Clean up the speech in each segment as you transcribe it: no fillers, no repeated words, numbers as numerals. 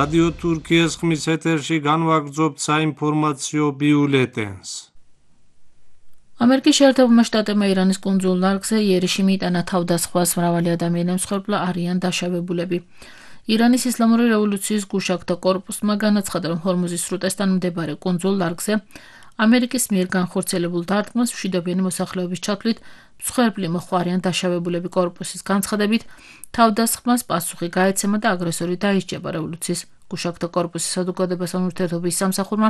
რადიო თურქიის ხმის ეთერში განვაგრძობთ საინფორმაციო ბიულეტენს. ამერიკის შეერთებულმა შტატებმა ირანის კუნძულ ლარგზე იერიში მიიტანა თავდასხმას, მრავალი ადამიანი მსხვერპლა არიან დაშავებულები. ირანის ისლამური რევოლუციის გუშაგთა კორპუსმა განაცხადა, რომ ჰორმუზის სრუტესთან მდებარე კუნძულ ლარგზე ამერიკის მიერ განხორციელებულ დარტყმას მშვიდობიანი მოსახლეობის ჩათვლით მსხვერპლი მოჰყვა არიან დაშავებულები. კორპუსის განცხადებით, თავდასხმას პასუხი გაეცემა და აგრესორი დაისჯება. რევოლუციის გუშაგთა კორპუსის საზოგადოებასთან ურთიერთობის სამსახურმა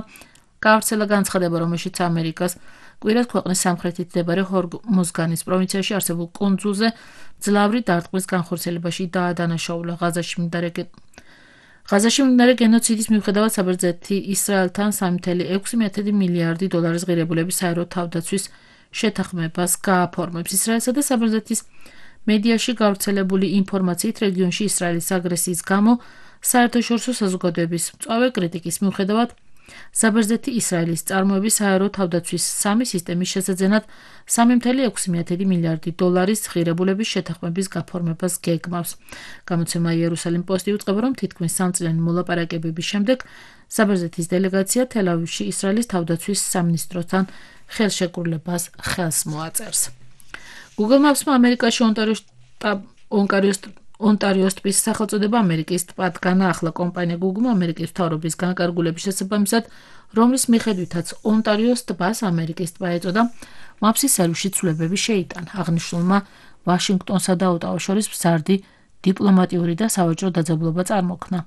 გაავრცელა განცხადება, რომელშიც ამერიკას კვირას ქვეყნის სამხრეთით მდებარე ჰორმუზგანის პროვინციაში არსებულ კუნძულზე ძლავრი დარტყმის განხორციელებაში დაადანაშაულა. ღაზაში მიმდინარე გენოციდის მიუხედავად საბერძნეთი ისრაელთან 3,6 მილიარდი დოლარის ღირებულების საერო თავდაცვის შეთანხმებას გააფორმებს. ისრაელსა და საბერძნეთის მედიაში გავრცელებული ინფორმაციით, რეგიონში ისრაელის აგრესიის გამო საერთაშორისო საზოგადოების მწვავე კრიტიკის მიუხედავად საბერძნეთი ისრაელის წარმოების საერო თავდაცვის სამი სისტემის შესაძენად 3,6 მილიარდი დოლარის ღირებულების შეთანხმების გაფორმებას გეგმავს. გამოცემა იერუსალიმ პოსტი უწყება, რომ თითქმის სამწლიანი მოლაპარაკებების შემდეგ საბერძნეთის დელეგაცია თელ-ავივში ისრაელის თავდაცვის სამინისტროსთან ხელშეკრულებას ხელს მოაწერს. Google Maps-მა ამერიკაში ონტარიოს ტბის სახელწოდება ამერიკის ტბად განაახლა. კომპანია Google-მა ამერიკის მთავრობის განკარგულების შესაბამისად, რომლის მიხედვითაც ონტარიოს ტბას ამერიკის ტბა ეწოდა, Maps-ის სერვისში ცვლილებები შეიტანა. აღნიშნულმა ვაშინგტონსა და ოტავას შორის მზარდი დიპლომატიური და სავაჭრო დაძაბულობა წარმოქმნა.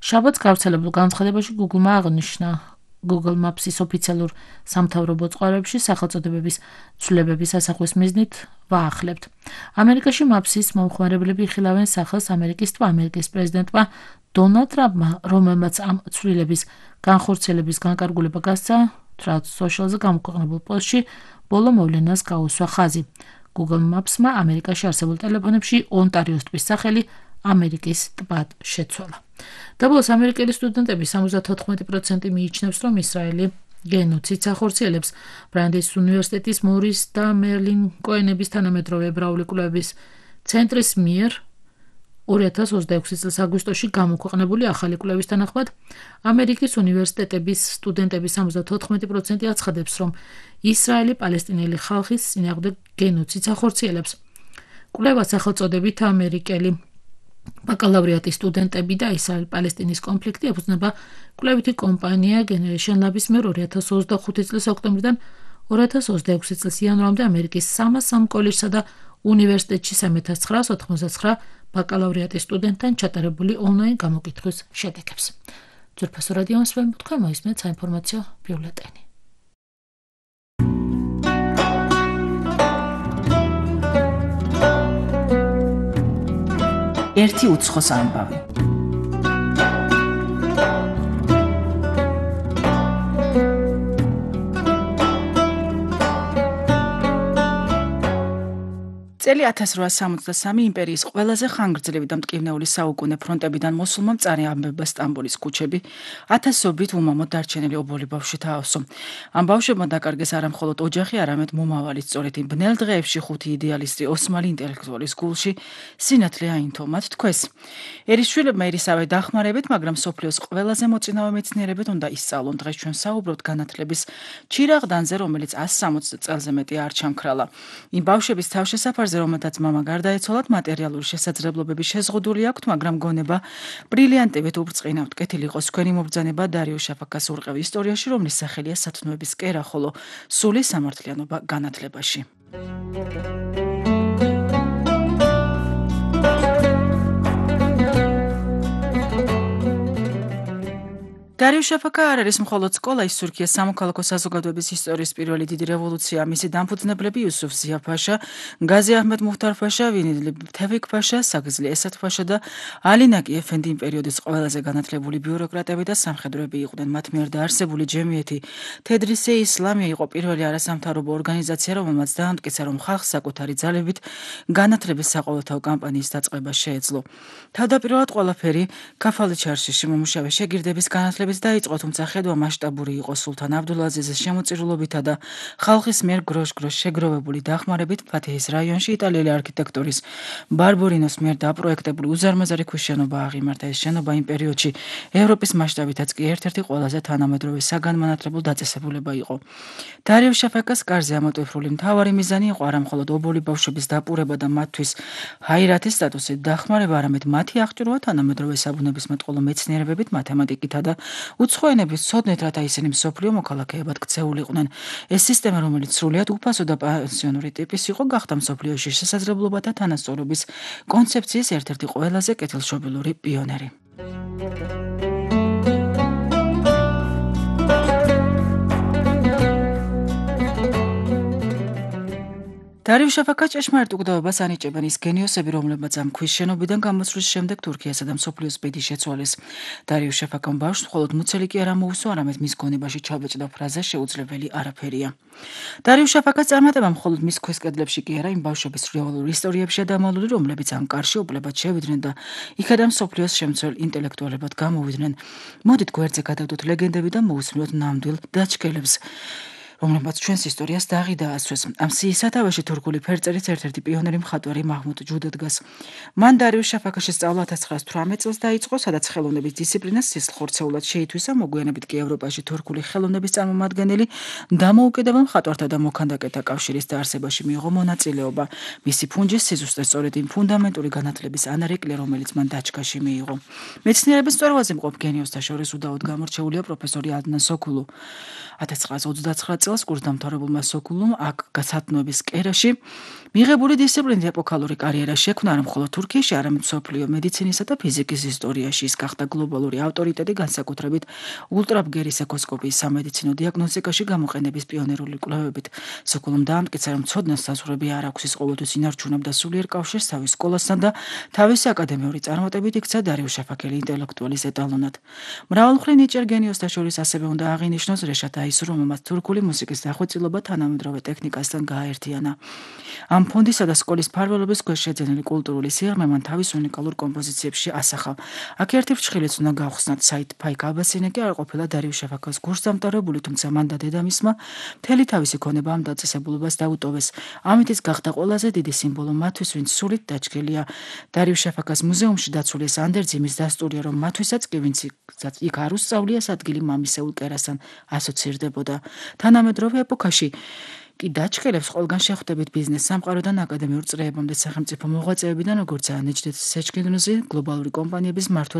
შაბათს გავრცელებულ განცხადებაში Google-მა აღნიშნა, Google Maps-ის ოფიციალურ სამთავრობო წყაროებში სახელწოდებების ცვლილებების ასახვის მიზნით ვაახლებთ. ამერიკაში Maps-ის მომხმარებლები იხილავენ სახელს ამერიკის ტბა. ამერიკის პრეზიდენტმა დონალდ ტრამპმა, რომელმაც ამ ცვლილების განხორციელების განკარგულება გასცა, Truth Social-ზე გამოქვეყნებულ პოსტში ბოლო მოვლენას გაუსვა ხაზი. Google Maps-მა ამერიკაში არსებულ ტელეფონებში ონტარიოს ტბის სახელი ამერიკის ტბად შეცვალა. დაბოლოს ამერიკელი სტუდენტები 74% მიიჩნევს, რომ ისრაელი გენოციდს ახორციელებს. ბრანდის უნივერსიტეტის მორის და მერლინ კოენების თანამედროვე ებრაული კვლევების ცენტრის მიერ 2026 წლის აგვისტოში გამოქვეყნებული ახალი კვლევის თანახმად, ამერიკის უნივერსიტეტების სტუდენტების 74% აცხადებს, რომ ისრაელი პალესტინელი ხალხის წინააღმდეგ გენოციდს ახორციელებს. კვლევას სახელწოდებით ამერიკელი ბაკალავრიატის სტუდენტები და ისრაელ-პალესტინის კონფლიქტი ეფუძნება კვლევითი კომპანია Generation Lab-ის მიერ 2025 წლის ოქტომბრიდან 2026 წლის იანვრამდე ამერიკის 300 კოლეჯსა და უნივერსიტეტში 3999 ბაკალავრიატის სტუდენტთან ჩატარებული ონლაინ გამოკითხვის შედეგებს. ძვირფასო რადიო მსმენელო, თქვენ მოისმენთ საინფორმაციო ბიულეტენი. ერთი უცხოს ამბავი. წელი 1863 იმპერიის ყველაზე ხანგრძლივი და მტკივნეული საუკუნე ფრონტებიდან მოსულმა მწარე ამბებმა სტამბოლის ქუჩები 1000-ობით უმამოდ დარჩენილი ობოლი ბავშვი თაოსო. ამ ბავშვებმა დაკარგეს არა მხოლოდ ოჯახი, არამედ მომავალი. სწორედ იმ ბნელ დღეებში ხუთი იდეალისტი ოსმალი ინტელექტუალის გულში სინათლე აინთო მათ თქოს. ერის შვილებმა ერისავე დახმარებით, მაგრამ სოფლიოს ყველაზე მოწინავე მეცნიერებად უნდა ისწავლონ. დღეს ჩვენ საუბრობთ განათლების ჩირაღდანზე, რომელიც 160 წელზე მეტი არ ჩამქრალა. იმ ბავშვების თავშესაფარზე, რომელთაც მამა გარდაეცვალათ, მატერიალური შესაძლებლობები შეზღუდული აქვთ, მაგრამ გონება ბრილიანტივით ურწყინავთ. კეთილი იყოს თქვენი მობრძანება დარიო შაფაკას ურყევი ისტორიაში, რომლის სახელია სათნოების კერა, ხოლო სული სამართლიანობა განათლებაში. დარიო შაფაკა არ არის მხოლოდ სკოლა, ის თურქიის სამოქალაქო საზოგადოების ისტორიის პირველი დიდი რევოლუცია. მისი დამფუძნებლები იუსუფ ზია-ფაშა, გაზი აჰმედ მუხტარ-ფაშა, ვინიდლი თევიქ-ფაშა, საგზლი ესად-ფაშა და ალი ნაკი ეფენდი იმ პერიოდის ყველაზე განათლებული ბიუროკრატები და სამხედროები იყვნენ. მათ მიერ დაარსებული ჯემიეთი თედრისე ისლამია იყო პირველი არასამთავრობო ორგანიზაცია, რომელმაც დაამტკიცა, რომ ხალხს საკუთარი ძალებით განათლების საყოველთაო კამპანიის დაწყება შეეძლო. თავდაპირველად ყველაფერი ქაფალი ჩარშიში მომუშავე შეგირდების განათლების მართლებიც დაიწყო, თუმცა ხედვა მასშტაბური იყო სულთან აბდულაზიზის შემოწირულობითა და ხალხის მიერ გროშ-გროშ შეგროვებული დახმარებით ფათეჰის რაიონში იტალიელი არქიტექტორის ბარბორინოს მიერ დაპროექტებული უზარმაზარი ქვის შენობა აღიმართა. ეს შენობა იმ პერიოდში ევროპის მასშტაბითაც კი ერთ-ერთი ყველაზე თანამედროვე საგანმანათლებლო დაწესებულება იყო. დარიო შაფაკას კარზე ამოტვიფრული მთავარი მიზანი იყო არა მხოლოდ ობოლი ბავშვების დაპურება და მათთვის ჰაირათის სტატუსით დახმარება, არამედ მათი აღჭურვა თანამედროვე საბუნებისმეტყველო მეცნიერებებით, მათემატიკითა და უცხო ენების ცოდნით, რათა ისინი მსოფლიო მოქალაქეებად ქცეულიყვნენ. ეს სისტემა, რომელიც სრულიად უფასო და პანსიონური ტიპის იყო, გახდა მსოფლიოში შესაძლებლობათა თანასწორობის კონცეფციის ერთ-ერთი ყველაზე კეთილშობილური პიონერი. დარიო შაფაკას ჭეშმარიტ უგდავებას ანიჭებენ ის გენიოსები, რომლებმაც ამ ქვის შენობიდან გამოსვლის შემდეგ თურქიასა და მსოფლიოს ბედი შეცვალეს. დარიო შაფაკამ ბავშვს მხოლოდ მუცელი კი არ ამოუსვა, არამედ მის გონებაში ჩაბეჭდა ფრაზა შეუძლებელი არაფერია. დარიო შაფაკას წარმატება მხოლოდ მის ქვის კედლებში კი არა, იმ ბავშვების რეალურ ისტორიებშია დამალული, რომლებიც ამ კარში უბლებად შევიდნენ და იქედან მსოფლიოს შემცველ ინტელექტუალებად გამოვიდნენ. მოდით გვერდზე გადავდოთ ლეგენდები და მოусმინოთ ნამდვილ დაჩქელებს, რომლებმაც ჩვენს ისტორიას დაღი დაასვეს. ამ სიის სათავეში თურქული ფერწერის ერთ-ერთი პიონერი მხატვარი მაჰმუდ ჯუდე დგას. მან დარიო შაფაკაში სწავლა 1918 წელს დაიწყო, სადაც ხელოვნების დისციპლინას სისხლხორცეულად შეითვისა, მოგვიანებით კი ევროპაში თურქული ხელოვნების წარმომადგენელი დამოუკიდებელ მხატვართა და მოქანდაკეთა კავშირის დაარსებაში მიიღო მონაწილეობა. მისი ფუნჯის სიზუსტე სწორედ იმ ფუნდამენტური განათლების ანარეკლია, რომელიც მან დაჩქაში მიიღო. მეცნიერების მწვერვალზე მყოფ გენიოსთა შორის უდაოდ გამორჩეულია პროფესორი ადნან სოქულუ. 1929 წელს კურსდამთავრებულმა სოქულუმ აქ გასათნოების კერაში მიღებული დისციპლინით ეპოქალური კარიერა შექმნა არა მხოლოდ თურქიაში, არამედ მსოფლიო მედიცინისა და ფიზიკის ისტორიაში. ის გახდა გლობალური ავტორიტეტი, განსაკუთრებით ულტრაბგერის ეკოსკოპიის სამედიცინო დიაგნოსტიკაში გამოყენების პიონერული კვლევებით. სოქულუმ დაამტკიცა, რომ ცოდნას საზღვრები არ აქვს, ის ყოველთვის ინარჩუნებდა სულიერ კავშირს თავის სკოლასთან და თავისი აკადემიური წარმატებით იქცა დარიო შაფაკელი ინტელექტუალის ეტალონად. მრავალმხრივ ნიჭიერ გენიოსთა შორის ასევე უნდა აღინიშნოს რეშად აისუ, რომელმაც თურქული მუსიკის დახვეწილობა თანამედროვე ტექნიკასთან გააერთიანა. ამ ფონდისა და სკოლის მფარველობის ქვეშ შეძენილი კულტურული სიღრმე მან თავის უნიკალურ კომპოზიციებში ასახა. აქ ერთი ფრჩხილიც უნდა გავხსნათ, საიდ ფაიქ აბასინე კი არ ყოფილა დარიო შაფაკას კურსდამთავრებული, თუმცა მან და დედამისმა მთელი თავისი ქონება ამ დაწესებულებას დაუტოვეს. ამით ის გახდა ყველაზე დიდი სიმბოლო მათთვის, ვინც სულით დაჩქელია. დარიო შაფაკას მუზეუმში დაცული ეს ანდერძი იმის დასტურია, რომ მათთვისაც კი, ვინც იქ არ უსწავლია, ადგილი მამისეულ კერასთან ასოცირდებოდა. თანამედროვე ეპოქაში კი დაჩქელებს ყველგან შეხვდებით ბიზნეს სამყაროდან აკადემიურ წრეებამდე, სახელმწიფო მოღვაწეებიდან, როგორიცაა ნეჯდეთ სეჩკინდნუზი, გლობალური კომპანიების მმართველები